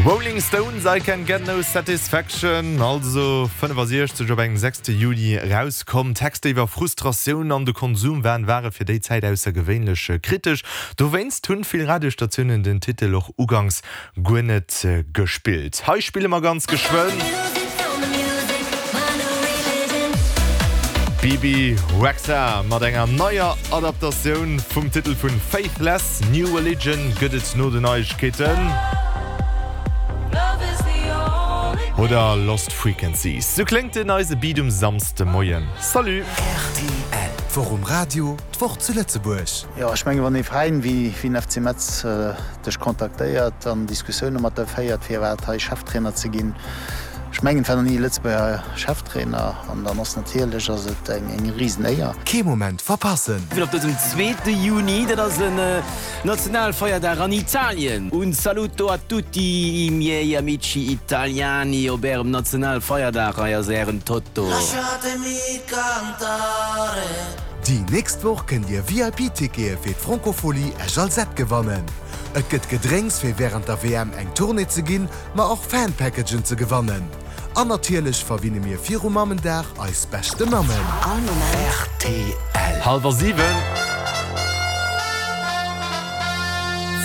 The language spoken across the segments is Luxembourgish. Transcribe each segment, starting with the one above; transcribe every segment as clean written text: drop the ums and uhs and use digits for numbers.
Rolling Stones, I Can Get No Satisfaction, also 65 op engem 6 Juni erauskomm. Texter iwwer Frustratioun an de Konsumwahn ware fir déi Zäit aussergewéinlech kritesch. Dowéinst hunn vill Radiosstatiounen den Titel och uganks guer net gespillt. Hei spille mer ganz geschwënn. Bebe Rexha mat enger neier Adaptatioun vum Titel vun Faithless, New Religion gëtt et no den Neiegkeeten. Oder Lost Frequencies. Sou kléngt den eise Beat um Samsdemoien. Salut! Rtl, D'Woch um Radio, d'Woch zu Lëtzebuerg. Jo, ech mengen, wann ee Veräin wéi den FC Metz dech kontaktéiert an Diskussioune mat der féiert, firwat hei Cheftrainer ze ginn, ech mengen, et war nach ni e Lëtzebuerger Cheftrainer, an dann ass natierlech ass et eng Risenéier. Kee Moment verpassen! Op dësem zweete Juni, dat ass en Nationalfeierdag an Italien. Un saluto a tutti i miei amici italiani op ärem Nationalfeierdag. Hei ass ären Toto. Déi nächst Woch kënnt Dir VIP-Tickete fir d'Francophonie Esch-Alzette gewannen. Et gëtt Gedrénks fir wärend der WM eng Tournée ze ginn, ma och Fan-Packagen ze gewannen. An natierlech verwinne mir viru Mammendag eis beschte Mammen. All Moment. Rtl. Hallwer 7.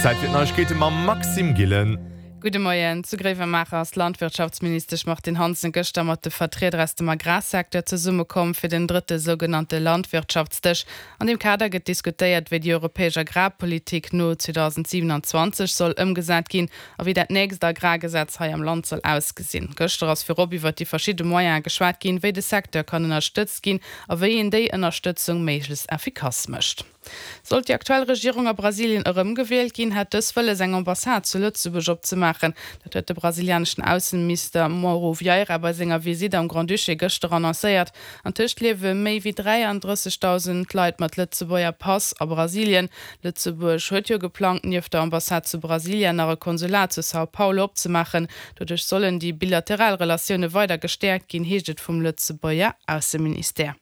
Zäit fir d'Neiegkeete mam Maxime Gillen. Gudde Moien. Zu Gréiwemaacher ass d'Landwirtschaftsministesch Martine Hansen gëschter mat de Vertrieder aus dem Agrarsecteur zesummekomm fir den drëtte sougenannte Landwirtschaftsdësch. An deem Kader gëtt diskutéiert, wéi déi europäesch Agrarpolitik no 2027 soll ëmgesat ginn a wéi dat nächst Agrargesetz hei am Land soll ausgesinn. Gëschter ass virop iwwert déi verschidde Moyene geschwat ginn, wéi de Secteur kann ënnerstëtzt ginn a wéi een déi Ënnerstëtzung méiglechst effikass mécht. Sollt déi aktuell Regierung a Brasilien erëmgewielt ginn, hätt dës wëlles eng Ambassade zu Lëtzebuerg opzemaachen. Dat huet de brasilianeschen Ausseminister Mauro Vieira bei senger Visitt am Grand-Duché gëschter annoncéiert. Antëscht liewe méi wéi 33.000 Leit mat Lëtzebuerger Pass a Brasilien. Lëtzebuerg huet jo geplangt, nieft der Ambassade zu Brasilia nach e Konsulat zu São Paulo opzemaachen. Doduerch sollen déi bilateral Relatioune weider gestäerkt ginn, heescht et vum Lëtzebuerger Ausseministère.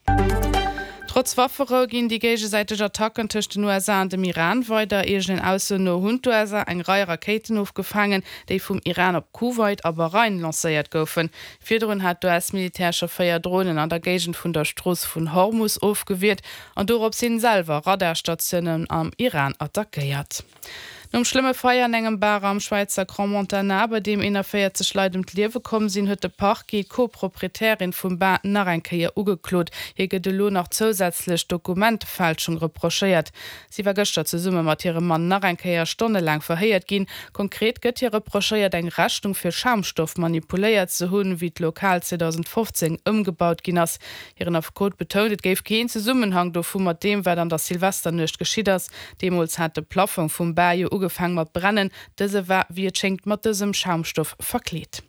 Trotz Wafferou ginn déi géigesäiteg Attacken tëscht den USA an dem Iran weider. Eegenen Aussoen no hunn d'USA eng Rei Rakéiten ofgefaangen, déi vum Iran op Kuwait a Bahrain lancéiert goufen. Virdrun hat d'US-Militär scho 4 Dronen an der Géigend vun der Strooss vun Hormus ofgewiert an dorops hin selwer Radarstatiounen am Iran attackéiert. Nom schlëmme Feier an engem Bar am Schwäizer Crans-Montana, bei deem 41 Leit ëm d'Liewe komm sinn, huet de Parquet d'Co-Proprietärin vum Bar nach eng Kéier ugeklot. Hir gëtt elo nach zousätzlech Dokumentefälschung reprochéiert. Si war gëschter zesumme mat hirem Mann nach eng Kéier stonnelaang verhéiert ginn. Konkret gëtt hir reprochéiert, eng Rechnung fir Schaumstoff manipuléiert ze hunn, wéi d'Lokal 2015 ëmgebaut ginn ass. Hiren Affekot betount, et géif keen Zesummenhang dovu mat deem, wat an der Silvesternuecht geschitt ass. Deemools hat de Plaffong vum Bar jo ugefaang mat brennen. Dëse war, wéi et schéngt, mat dësem Schaumstoff verkleet.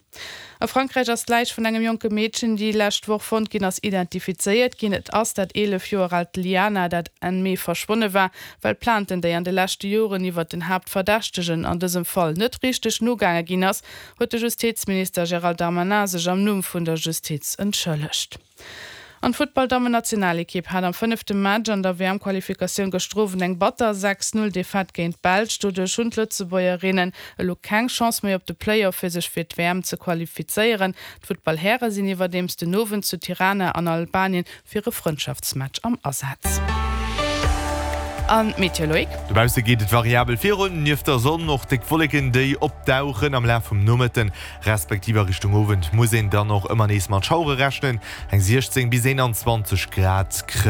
A Frankräich ass d'Läich vun engem jonke Meedchen, déi lescht Woch fonnt ginn ass, identifizéiert ginn. Et ass dat 11 Joer aalt Liana, dat Enn Mee verschwonne war, well Plainten, déi an de leschte Joren iwwert den Haaptverdächtegen an dësem Fall net richteg nogaange ginn ass, huet de Justizminister Gérald Darmanin sech am Numm vun der Justiz entschëllegt. An d'Futtball-Dammen-Nationalekipp hat am fënnefte Match an der WM-Qualifikatioun gëschter Owend eng batter 6, 0 Defaite géint d'Belsch. Doduerch hunn d'Lëtzebuergerinnen elo keng Chance méi op de Play-Off fir sech fir d'WM ze qualifizéieren. D'Futtball-Häre sinn iwwerdeems den Owend zu Tirana an Albanien fir e Frëndschaftsmatch am Asaz. An d'Meteo, Loïc? Dobausse geet et variabel virun, nieft der Sonn och déck Wolleken, déi opdauchen. Am Laf vum Nomëtten respektiv a Richtung Owend muss een dann och ëmmer nees mat Schauere rechnen. Eng 16 bis 21 Grad kréien.